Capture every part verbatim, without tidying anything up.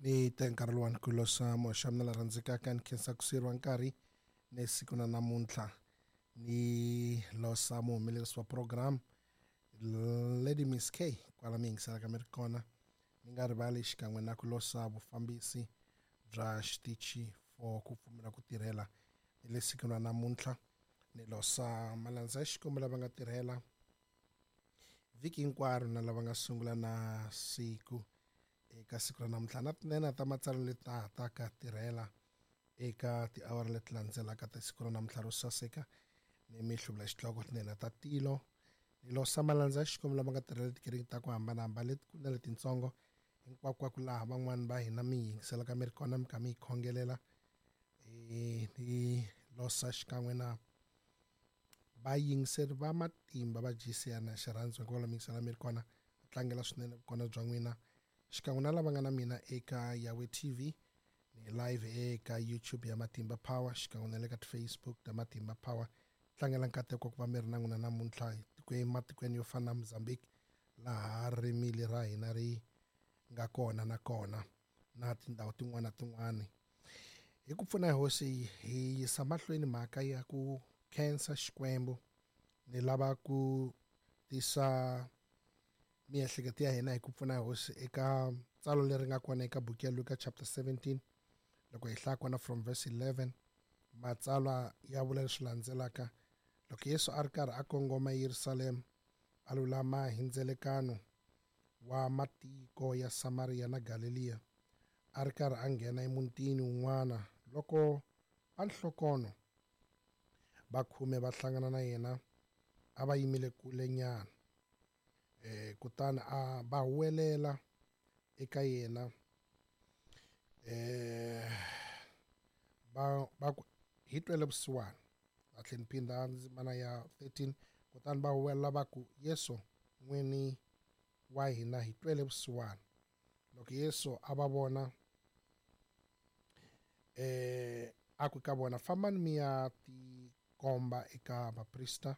Ni te nkarhi luwani ku losa moxa mina la rhandzekaka ni khensa ku siyeriwa nkarhi ni siku na namuntlha ni losa muhumelerisi wa program Lady Miss K kwala mi yingiselaka mi ri kona ni nga rivali xikan'we na ku losa vufambisi bya xitichi for ku pfumela ku tirhela ni le sikwini ra namuntlha ni losa malandza ya xikwembu lava nga tirhela vhiki hinkwaro na lava nga sungula na siku eka siku ra namuntlha na tinene ta matsalwa leti ta ha taka tirhela eka tiawara leti landzelaka ta siku ra namuntlha ro saseka ni mi hluvula xihloko tinene ta tilo ni losa malandza ya xikwembu lama nga tirhela tikereke ta ku hambanahambana letikulu na letintsongo hinkwakwako laha van'wani va hina mi yingiselaka mi ri kona mi kha mi yi khongelela e ni losa xikan'we na vayingiseri va matimba va G C na xirhandzu hinkwavo mi yingisela mi ri kona tlangela swinene vukona bya n'wina xikan'we na lava nga na mina eka Yahweh T V ni live eka YouTube ya Matimba Power xikan'we na le ka Facebook ta Matimba Power tlangela nkateko ku va mi ri na n'wina namuntlha tikweni matikweni yo fana na Mozambique laha rimili ra hina ri nga kona na kona na tindhawu tin'wana na tin'wana hi ku pfuna hi hosi hi yisa mahlweni mhaka ya ku khensa Xikwembu ni lava ku tisa miehleketo ya hina hi ku pfuna hi hosi eka tsalo leri nga kona eka buku ya Luka chapter seventeen loko hi hlaya kona from verse eleven matsalwa ya vula leswi landzelaka loko Yesu a ri karhi a kongoma eYerusalema a lulama hi ndzelekano wa matiko ya Samariya na Galeliya a ri karhi a nghena emutini wun'wana loko va nhlokono va khume va hlangana na yena a va yimile kule nyana eh kutani a va huwelela eka yena eh va va ku hi twele vusiwana a tlhela ni phinda ndzimana ya thirteen kutani va huwelela va ku Yesu n'wini wa hina hi twele vusiwana loko Yesu a va vona eh a ku ka vona fambani mi ya tikomba eka vaprista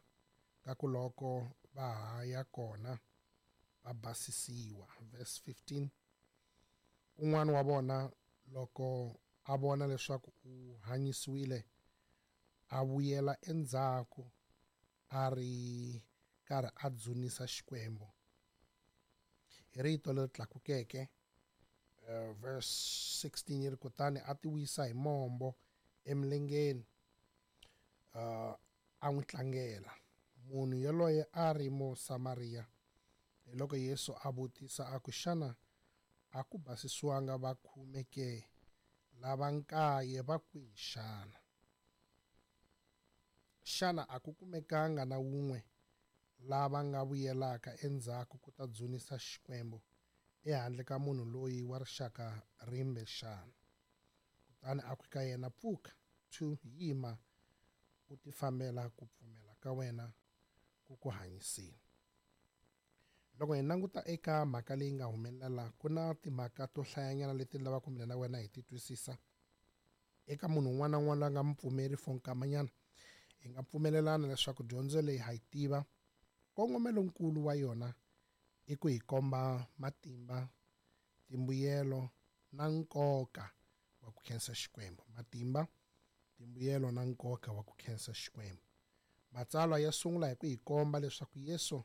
kakuloko va ha ya kona va basisiwa verse fifteen un'wana wa vona loko a vona leswaku u hanyisiwile a vuyela endzhaku a ri karhi a dzunisa Xikwembu hi rito leri tlakukeke uh, verse sixteen yi ri kutani a ti wisa hi mombo emilengeni uh, a n'wi tlangela munhu yoloye a ri Musamariya hi loko Yesu a vutisa a ku xana a ku basisiwanga va khume ke lava nkaye va kwihi xana xana a ku kumekanga na wun'we lava nga vuyelaka endzhaku ku ta dzunisa Xikwembu ehandle ka munhu loyi wa rixaka rimbe xana kutani a ku ka yena pfuka two yima u tifambela ku pfumela ka wena ku ku hanyisile loko hi languta eka mhaka leyi nga humelela laha ku na timhaka to hlayanyana leti ni lavaka mina na wena hi ti twisisa eka munhu un'wana na un'wana loyi a nga mupfumeri for nkamanyana hi nga pfumelelana leswaku dyondzo leyi ha yi tiva nkongomelonkulu wa yona i ku hi komba matimba timbuyelo na nkoka wa ku khensa Xikwembu matimba timbuyelo na nkoka wa ku khensa Xikwembu matsalwa ya sungula hi ku hi komba leswaku Yesu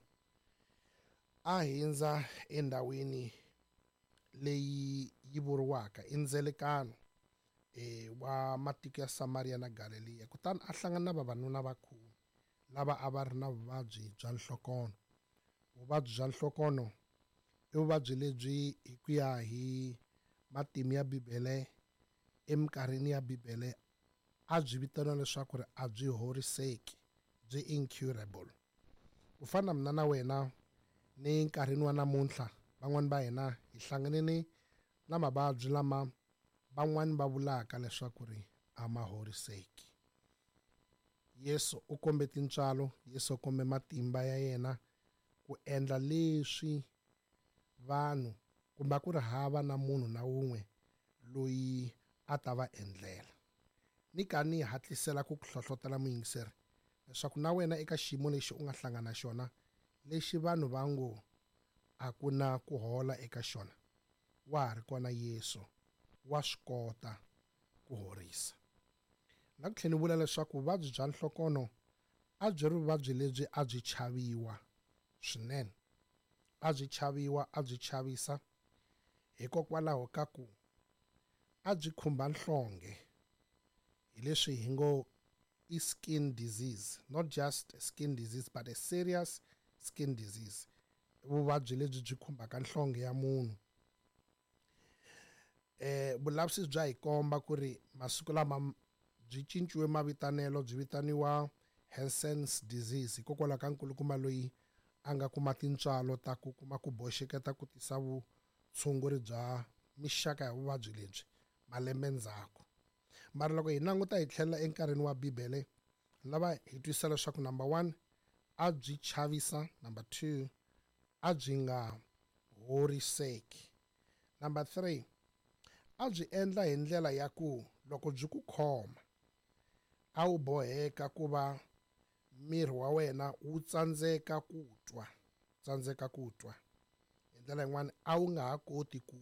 a hindza endhawini leyi yi vuriwaka i ndzelekano e wa matiko ya Samaria na Galeliya kutani a hlangana na vavanuna va khume lava a va ri na vuvabyi bya nhlokono vuvabyi bya nhlokono i vuvabyi lebyi hi ku ya hi matimu ya Bibele eminkarhini ya Bibele a byi vitaniwa leswaku ri a byi horiseki byi incurable ku fana na mina na wena ni nkarhini wa namuntlha van'wani va hina hi hlanganile na mavabyi lama van'wani va vulaka leswaku ri a ma horiseki Yesu u kombe tintswalo Yesu u kombe matimba ya yena ku endla leswi vanhu kumbe a ku ri hava na munhu na wun'we loyi a ta va endlela ni ka ni hatlisela ku ku hlohlotela muyingiseri leswaku na wena eka xiyimo lexi u nga hlangana na xona lexi vanhu va ngo a ku na ku hola eka xona wa ha ri kona Yesu wa swi kota ku horisa. Na ku tlhela ni vula leswaku vuvabyi bya nhlokonho a byi ri vuvabyi lebyi a byi chaviwa swinene, a byi chaviwa, a byi chavisa hikokwalaho ka ku a byi khumba nhlonge, hi leswi hi ngo i skin disease, not just a skin disease but a serious skin disease, vuvabyi lebyi byi khumbaka nhlonge ya munhu. Eh vulavisisi bya hi komba ku ri masiku lama byi cinciwe mavitanelo, byi vitaniwa Hansen's disease hikokwalaho ka nkulukumba loyi a nga kuma tintswalo ta ku kuma ku boxeketa ku tisa vutshunguri bya mixaka ya vuvabyi lebyi malembe ndzhaku. Mara loko hi languta hi tlhela enkarhini wa Bibele, lava hi twisisa leswaku number one a byi chavisa, number two a byi nga horiseki, number three a byi endla hi ndlela ya ku loko byi ku khoma a wu boheka ku va miri wa wena wu tsandzeka ku twa, tsandzeka ku twa. Hi ndlela yin'wani a wu nga ha koti ku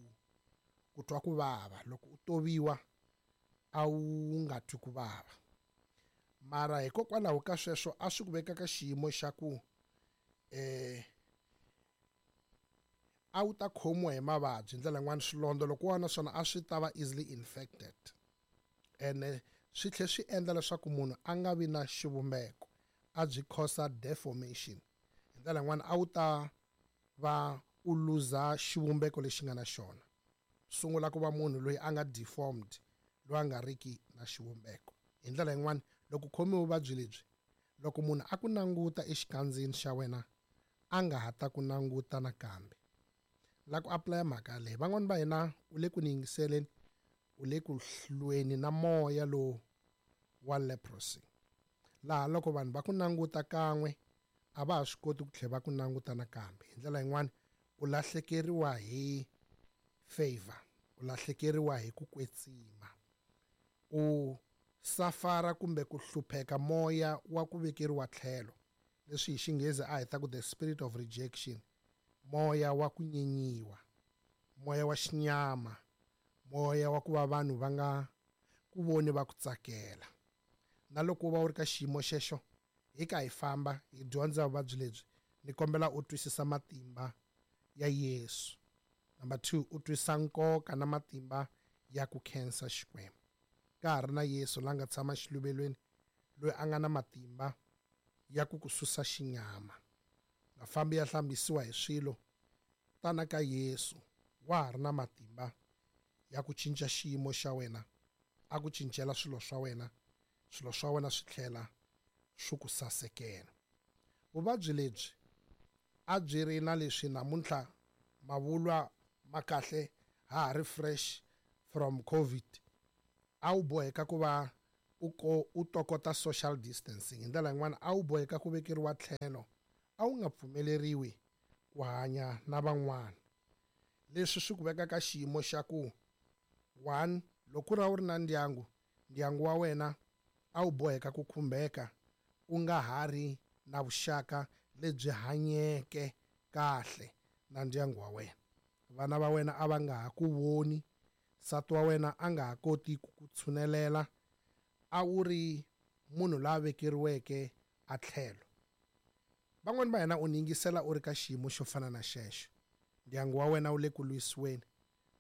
ku twa ku vava, loko u toviwa a wu nga twi ku vava. Mara hikokwalaho ka sweswo a swi ku veka ka xiyimo xa ku eh a wu ta khomiwa hi mavabyi. Hi ndlela yin'wani swilondza loko wa na swona a swi ta va easily infected, ene swi tlhela swi endla leswaku munhu a nga vi na xivumbeko, a byi cause deformation. Hi ndlela yin'wani a wu ta va u luza xivumbeko lexi nga na xona, sungula ku va munhu loyi a nga deformed, loyi a nga riki na xivumbeko. Hi ndlela yin'wani loko u khomiwe vuvabyi lebyi, loko munhu a ku languta exikandzeni xa wena a nga ha ta ku languta nakambe. La ku apply mhaka leyi, van'wani va hina u le ku ni yingiseleni, u le ku hlweni na moya lowu wa leprosy, laha loko vanhu va ku languta kan'we a va ha swi koti ku tlhela va ku languta nakambe. Hi ndlela yin'wani u lahlekeriwa hi favor, u lahlekeriwa hi ku kwetsima, u safara kumbe ku hlupheka moya wa ku vekeriwa tlhelo, leswi hi xinghezi a hi ta ku the spirit of rejection, moya wa ku nyenyiwa, moya wa xinyama, moya wa ku va vanhu va nga ku voni va ku tsakela. Na loko u va u ri ka xiyimo xexo, hi ka hi famba hi dyondza vuvabyi lebyi, ni kombela u twisisa matimba ya Yesu. Number two, u twisisa nkoka na matimba ya ku khensa Xikwembu. Ka ha ri na Yesu la nga tshama xiluvelweni, loyi a nga na matimba ya ku ku susa xinyama, nga fambi ya hlambisiwa hi swilo, tana ka Yesu, wa ha ri na matimba ya ku cinca xiyimo xa wena, a ku cincela swilo swa wena, swilo swa wena swi tlhela swi ku sasekela. Vuvabyi lebyi a byi ri na leswi namuntlha mavulwa ma kahle, ha ha ri fresh from COVID, a wu boheka ku va u ko u tokota social distancing. Hi ndlela yin'wana a wu boheka ku vekeriwa tlhelo, a wu nga pfumeleriwi ku hanya na van'wana. Leswi swi ku veka ka xiyimo xa ku one, loko ra wu ri na ndyangu, ndyangu wa wena a wu boheka ku khumbeka, u nga ha ri na vuxaka lebyi hanyeke kahle na ndyangu wa wena. Vana va wena a va nga ha ku voni, nsati wa wena a nga ha koti ku ku tshunelela, a wu ri munhu la vekeriweke a tlhelo. Van'wani va hina u ni yingisela u ri ka xiyimo xo fana na xexo, ndyangu wa wena wu le ku lwisiweni,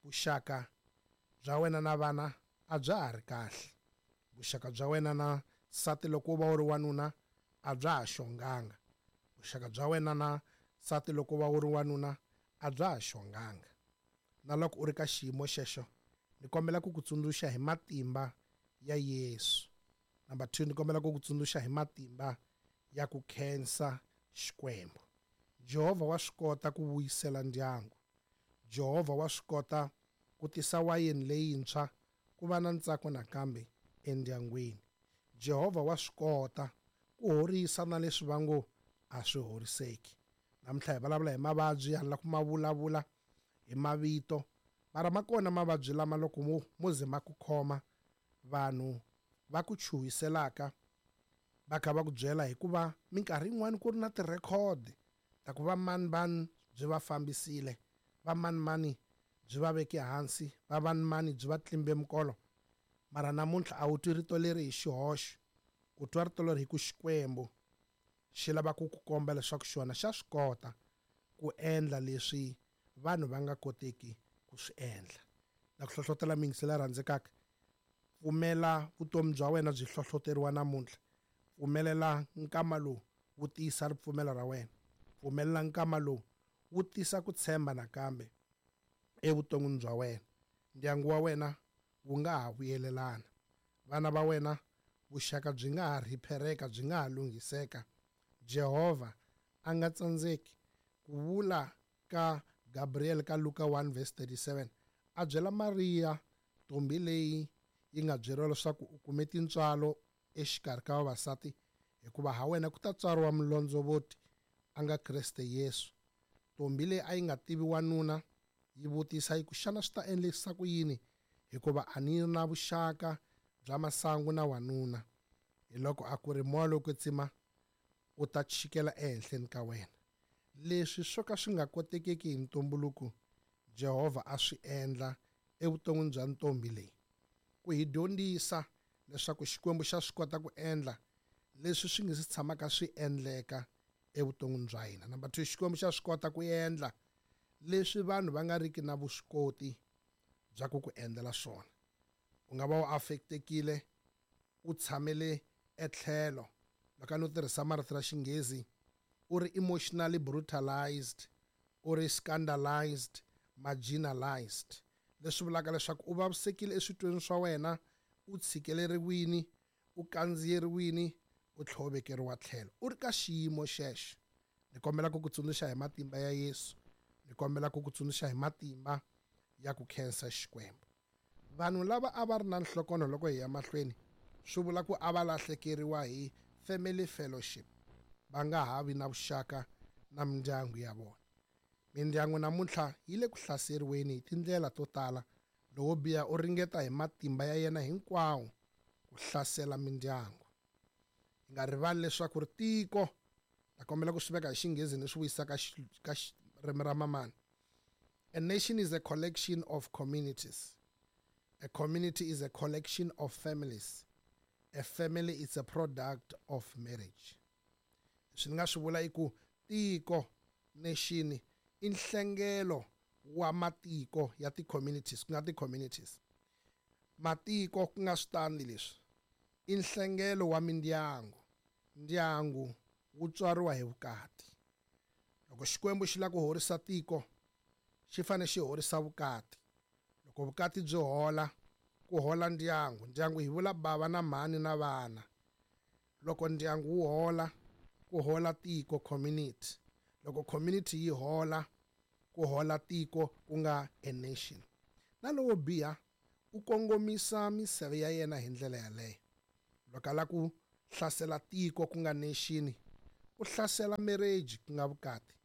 vuxaka bya wena na vana a bya ha ri kahle, vuxaka bya wena na nsati loko u va u ri wanuna a bya ha xonganga, vuxaka bya wena na nsati loko u va u ri wanuna a bya ha xonganga. Na loko u ri ka xiyimo xexo, ni kombela ku ku tsundzuxa hi matimba ya Yesu. Number two, ni kombela ku ku tsundzuxa hi matimba ya ku khensa Xikwembu. Jehovha wa swi kota ku vuyisela ndyangu. Jehovha wa swi kota ku tisa wayeni leyintshwa ku va na ntsako nakambe endyangwini. Jehovha wa swi kota ku horisa na leswi va ngo a swi horiseki. Namuntlha hi vulavula hi mavabyi, ha la ku ma vulavula hi mavito, mara ma kona mavabyi lama loko mo mo ze ma ku khoma, vanhu va ku chuhiselaka va kha va ku byela, hikuva minkarhi yin'wani ku ri na ti-record ta ku va mani mani byi va fambisile, va mani mani byi va veke hansi, va vanimani byi va tlimbe mikolo. Mara namuntlha a wu twi rito leri hi xihoxo, u twa rito leri hi ku Xikwembu xi lava ku ku komba leswaku xona xa swi kota ku endla leswi vanhu va nga koteki ku swi endla. Na ku hlohlotela muyingiseri la rhandzekaka, pfumela vutomi bya wena byi hlohloteriwa namuntlha. Pfumelela nkama lowu wu tiyisa ripfumelo ra wena. Pfumelela nkama lowu wu tisa ku tshemba nakambe evuton'wini bya wena. Ndyangu wa wena wu nga ha vuyelelana, vana va wena vuxaka byi nga ha rhiphereka, byi nga ha lunghiseka. Jehovha a nga tsandzeki ku vula ka Gabriel ka Luka one verse thirty-seven, a byela Mariya ntombi leyi yi nga byeriwa leswaku u kume tintswalo exikarhi ka vavasati, hikuva ha wena ku ta tswariwa mulondzovoti a nga Kreste Yesu. Ntombi leyi a yi nga tivi wanuna yi vutisa yi ku, xana swi ta endlisa ku yini, hikuva a ni na vuxaka bya masangu na wanuna? Hi loko a ku ri moya lowo kwetsima u ta chikela ehenhleni ka wena. Leswi swo ka swi nga kotekeki hi ntumbuluko, Jehovha a swi endla evuton'wini bya ntombi leyi, ku hi dyondzisa leswaku Xikwembu xa swi kota ku endla leswi swi nge se tshamaka swi endleka evuton'wini bya hina. Number two, Xikwembu xa swi kota ku endla leswi vanhu va nga riki na vuswikoti bya ku ku endlela swona. U nga va u affectekile, u tshamele etlhelo, loko no tirhisa marito ra Xinghezi, u ri emotionally brutalized, u ri scandalized, marginalized, leswi vulaka leswaku u vavisekile eswitweni swa wena, u tshikeleriwini, u kandziyeriwini, u tlhovekeriwa tlhelo, u ri ka xiyimo xexo. Ni kombela ku ku tsundzuxa hi matimba ya Yesu, ni kombela ku ku tsundzuxa hi matimba ya ku khensa Xikwembu. Vanhu lava a va ri na nhlokonho loko hi ya mahlweni, swi vula ku a va lahlekeriwa hi family fellowship, va nga ha vi na vuxaka na mindyangu ya vona. Mindyangu namuntlha yi le ku hlaseriweni hi tindlela to tala. Lowo biha u ringeta hi matimba ya yena hinkwawo ku hlasela mindyangu. Hi nga rivali leswaku ri tiko, ta kombela ku swi veka hi Xinghezi ni swi vuyisa ka ka ririmi ra mamani. A nation is a collection of communities. A community is a collection of families. A family is a product of marriage. Swi nga swi vula i ku tiko, nation, i nhlengelo wa matiko ya ti-communities, ku nga ti-communities. Matiko ku nga switandi leswi, i nhlengelo wa mindyangu. Ndyangu wu tswariwa hi vukati. Loko Xikwembu xi lava ku horisa tiko, xi fanele xi horisa vukati. Loko vukati byi hola, ku hola ndyangu. Ndyangu hi vula bava na mhani na vana. Loko ndyangu wu hola, ku hola tiko, community. Loko community yi hola, ku hola tiko, ku nga a nation. Na lowo biha u kongomisa miseve ya yena hi ndlela yaleyo. Loko a lava ku hlasela tiko, ku nga nation, u hlasela marriage, ku nga vukati.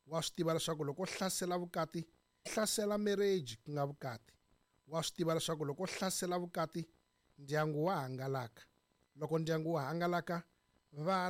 Wa swi tiva leswaku loko u hlasela vukati, hlasela marriage, ku nga vukati. Wa swi tiva leswaku loko u hlasela vukati, ndyangu wa hangalaka. Loko ndyangu wu hangalaka, vana